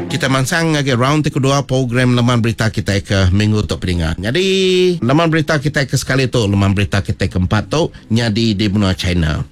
Kita mansang ngagai round ti kedua program leman berita kitai ke minggu tu peninga. Nyadi leman berita kitai ke sekali tu leman berita kitai ke empat tu nyadi di menua China.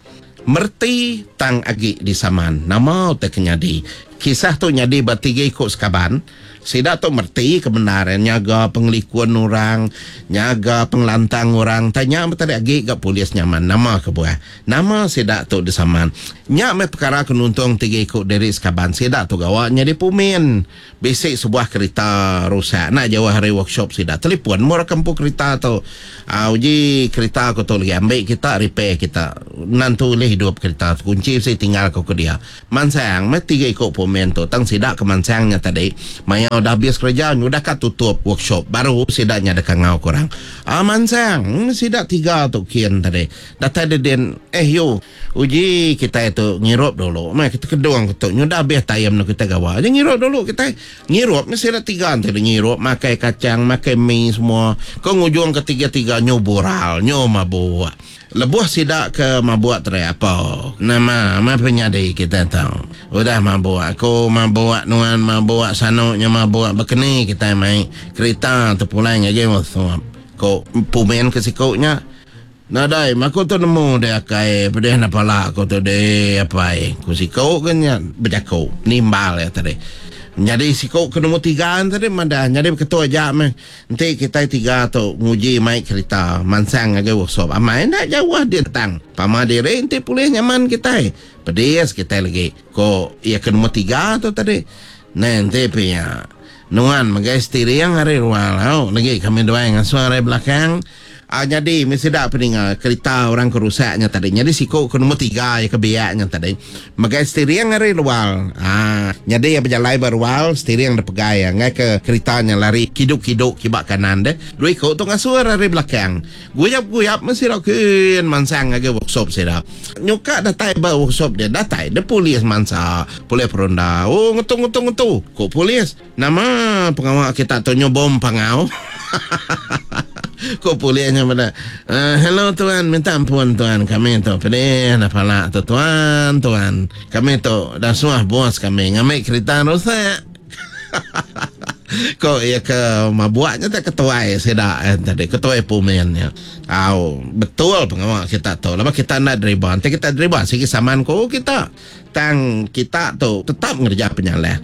Mereti tang agi disaman nama utai ke nyadi. Kisah tu nyadi ba tiga iku sekaban. Sida tu mereti ke bendar iya nyaga pengelikun orang, nyaga pengelantang orang. Tang nya meh tadi agi ga polis nyaman nama kebuah. Nama sida tu disaman. Nya meh pekara ke nuntung tiga iku diri sekaban sida tu gawa nyadi pumin. Bisi sebuah kerita rusak enda jauh ari workshop sida. Telipon meh orang ke empu kerita tu. Aa uji kerita aku tu lagi ambi kita repair kita. Nentu ulih idup kerita tu. Kunchi bisi tinggal ku ke dia. Mansang meh tiga iku pomen tu tang sida ke mansang nya tadi maya udah abis kereja nyudah ka tutup workshop baru sida nya deka ngau ke orang. Aa mansang meh sida tiga tu kin tadi datai de din eh yu uji kitai tu ngirup dulu meh kita kedung ke tu nyudah abis time nu kitai gawa aja ngirup dulu kitai. Ngirup meh sida tiga enti ngirup makai kachang makai mi semua ke ngujung ke tiga-tiga nyu bural nyu mabuk. Lebuh sida ke mabuk tadi apa nama meh penyadi kitai tu. Udah mabuk aku mabuk nuan mabuk sanu nya mabuk bekeni kitai mai kerita tepulai ngagai workshop ku pumin ke siku nya. Nadai meh aku tu nemu deh akai pedih enda pala aku tu deh apai ku siku ke nya bejaku nimbal iya tadi. Nyadi siku ke nombor tiga tadi madah nyadi beketu aja meh. Enti kitai tiga tu nguji mai kerita mansang ngagai workshop amai enda jauh din tang pama diri enti pulih nyaman kitai pedis kitai legi ko iya ke nombor tiga tu tadi neh enti pia nuan megai steering ari ruang au legi kami duai ngasuh ari belakang. Aa nyadi meh sida peninga kerita orang ke rusak nya tadi. Nyadi siku ke nombor tiga iya ke biak nya tadi megai steering ari luar. Aa nyadi iya bejalai ba rual steering da pegai iya enggai ke kerita nya lari kidu-kidu kiba kanan deh. Dua iku tu ngasur ari belakang. Guyap-guyap meh sida kin mansang ngagai workshop sida. Nyuka datai ba workshop dia datai deh polis mansa. Polis peronda. Oh ngetu ngetu ngetu ku polis. Nama pengawa kita tu nyu bom pangau? Ku polis nya meda. Uh, hello tuan, minta ampun tuan kami tu pedih dah pala tu tuan, tuan. Kami tu dah suah bos kami ngambi kerita rusak. Ko iya ke mabuk nya tak ketuai sida eh, tadi ketuai pumen nya. Au, betul pengawa kita tu. Laban kita enda deriba. Enti kita deriba sigi saman ku kita. Tang kita tu tetap ngereja penyalah.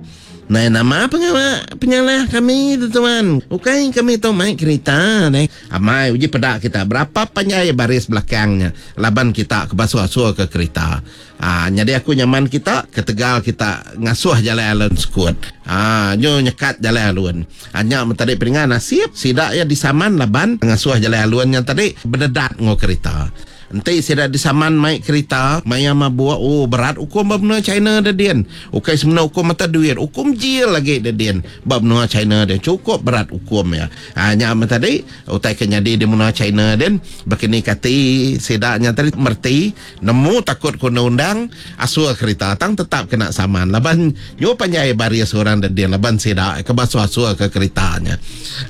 Nai nama pengawa penyalah kami tu tuan. Ukai kami tu mai kerita deh. Amai uji peda kita berapa panjai baris belakang nya laban kita ke basuh-asuh ke kerita. Aa nyadi aku nyaman kita ketegal kita ngasuh jalai alun sekut. Aa nyu nyekat jalai alun. Aa nya men tadi peninga nasib sida iya disaman laban ngasuh jalai alun nya tadi bededat enggau kerita. Enti sida disaman mai kerita maya mabuk, oh berat ukum ba menua China da din. Ukai semina ukum mata duit, ukum jil agi da din ba menua China din. Chukup berat ukum iya. Haa nya meh tadi utai ke nyadi di menua China din. Bekeni kati sida nya tadi mereti nemu takut ke undang-undang asuh kerita tang tetap kena saman laban nyu panjai baris orang da din laban sida ke basuh-asuh ke kerita nya.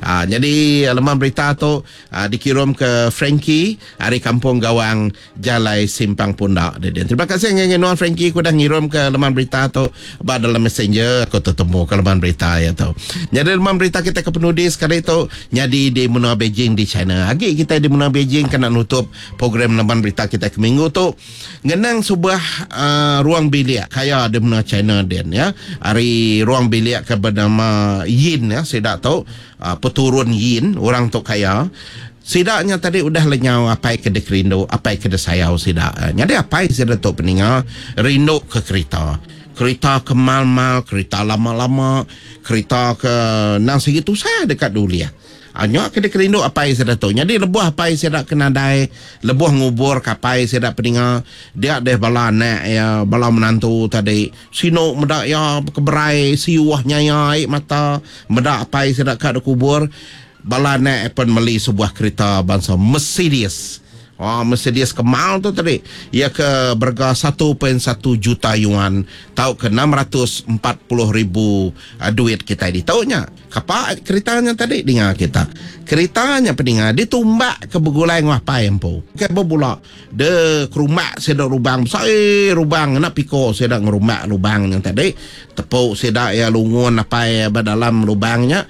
Haa nyadi leman berita tu Dikirum ke Frankie ari Kampung Gawang Jalai Simpang Punda didin. Terima kasih ngagai nuan Frankie ke udah ngirum ke leman berita tu ba dalam messenger aku tetemu ke leman berita iya tu. Nyadi leman berita kita ke penudi sekali tu nyadi di menua Beijing di China. Agi kitai di menua Beijing kena nutup program leman berita kita ke minggu tu ngenang sebuah uh, ruang bilik kaya di menua China din ya. Ari ruang bilik ke bernama Yin ya sida tu Peturun Yin, orang tu kaya. Sida nya tadi udah lenyau apai ke dikerindu, apai ke disayau sida. Nyadi apai sida tu peninga rindu ke kerita. Kerita ke mal-mal, kerita lama-lama, kerita ke endang sigi tusah deka diulih. Nya ke dikerindu apai sida tu. Nyadi lebuh apai sida ke nadai, lebuh nguburka apai sida peninga, dia deh bala anak iya, bala menantu tadi Sinu meda iya bekeberai siuh nyaya ai mata meda apai sida ka dikubur. Bala anak iya pen meli sebuah kerita bansa Mercedes. Oh, Mercedes kemal tu tadi iya ke berega 1.1 juta yuan tauka 640,000 duit kitai ditu nya. Kapa kerita nya tadi dinga kita. Kerita nya peninga ditumbak ke begulai enggau apai empu. Ke bebula de kerumbak sida lubang besai lubang ngena piko sida ngerumbak lubang nya tadi. Tepu sida iya lungun apai ba dalam lubang nya.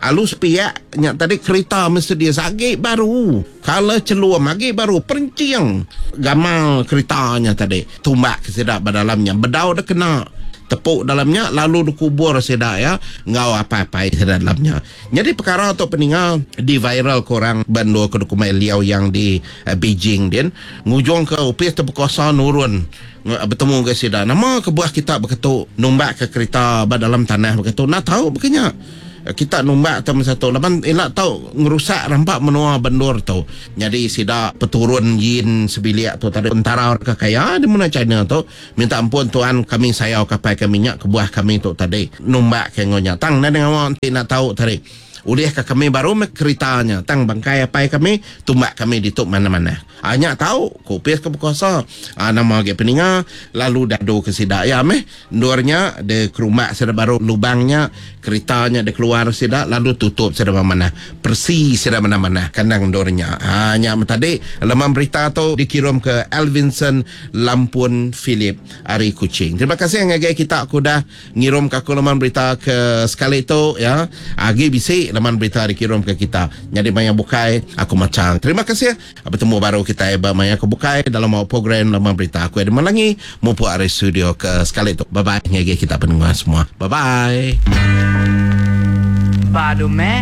Alu sepiak nya tadi kerita Mercedes agi baru. Kala chelum agi baru perenching gamal kerita nya tadi. Tumbak ke sida ba dalam nya bedau deh kena tepu dalam nya lalu dikubur sida iya enggau apai-apai sida dalam nya. Nyadi pekara tu peninga di viral ke orang ba endur ke dikumbai Liaoyang di Beijing din ngujung ke opis ti bekuasa nurun betemu enggau sida. Nama kebuah kita beketu numbak ke kerita ba dalam tanah beketu enda tau baka nya. Kita numbak tu masa tu laban ila tau ngerusak rampa menua ba endur tu. Nyadi sida peturun Yin sebilik tu tadi entara orang ke kaya di menua China tu minta ampun tuan kami sayau ke apai kami nya kebuah kami tu tadi numbak ke enggau nya. Tang nadai ngawa enti enda tau tadi ulih ka kami baru meh kerita nya tang bangkai apai kami tumbak kami ditu manah-manah. Aa nya tau, ku opis ke bekuasa. Aa nama agi peninga lalu dadu ke sida iya meh. Endur nya de kerumbak sida baru lubang nya, kerita nya dikeluar sida lalu tutup sida manah. Peresi sida manah-manah kandang endur nya. Aa nya meh tadi leman berita tu dikirum ke Elvinson Lampun Philip ari Kuching. Terima kasih ngagai kita ke udah Ngirum ka aku leman berita ke sekali tu ya. Agi bisi leman berita dikirum ke kita. Nyadi maya bukai aku macha. Terima kasih. Betemu baru kitai ba maya ke bukai dalam program leman berita. Aku Edmund Langi mupuk ari studio ke sekali tu. Bye bye ngagai kita pendengar semua. Bye bye. Badu meh.